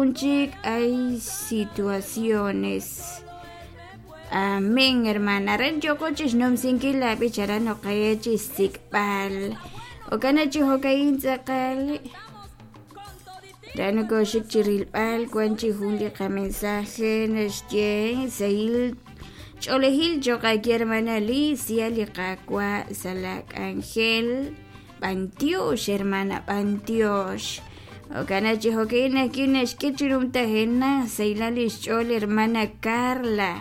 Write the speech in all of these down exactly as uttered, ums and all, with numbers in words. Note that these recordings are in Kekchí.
Chik hay situaciones. Amén, hermana. Aran yoko chixnumsinkil la b'ich aran oqe chixsik'b'al okana chi jo'ka'in tz'aqal ra nokoxik chi rilb'al wan chi jun li qamensaje naxye sahil ch'oolejil cho'q aawe hermana Alicia li Qaawa' sa' la k'anjel b'antiox hermana b'antiox okana chi jo'ka'in ajwi' naxk'e chi numtajenaq sahilal li xch'ool hermana Carla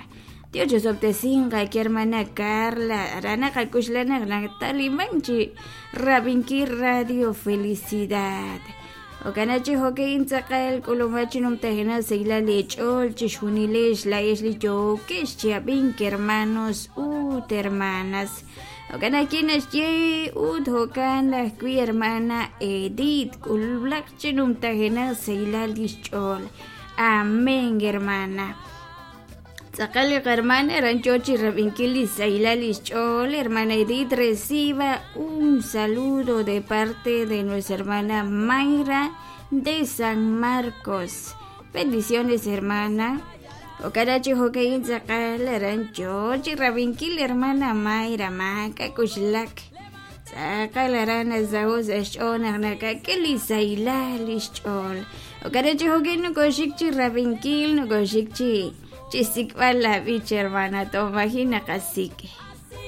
Dios chosob'tesinq aawe hermana Carla aran naqak'uxla naq nataliman chi rab'inkil Radio Felicidad okana chi jo'ka'in tz'aqal k'ulumaj chi numtajenaq sahilal li ch'ool chixjunilex la'ex li yookex chi ab'ink hermanos ut hermanas okana ajwi' naxye ut jo'kan ajwi' hermana Edith k'ululaq chi numtajenaq sahilal li xch'ool amén hermana tz'aqal li hermana aran yoo chi rab'inkil li sahilal li xch'ool hermana Edith reciba un saludo de parte de nuestra hermana Mayra de San Marcos bendiciones hermana okana chi jo'ka'in tz'aqal aran yoo chi rab'inkil hermana Mayra maak'a k'uxlak tz'aqal aran nasaho' sa' xch'ool naq nakak'e li sahilal li xch'ool okana chi jo'ka'in nokoxik chi rab'inkil nokoxik chi chi sik'b'al la b'ich hermana tomaji naqasik'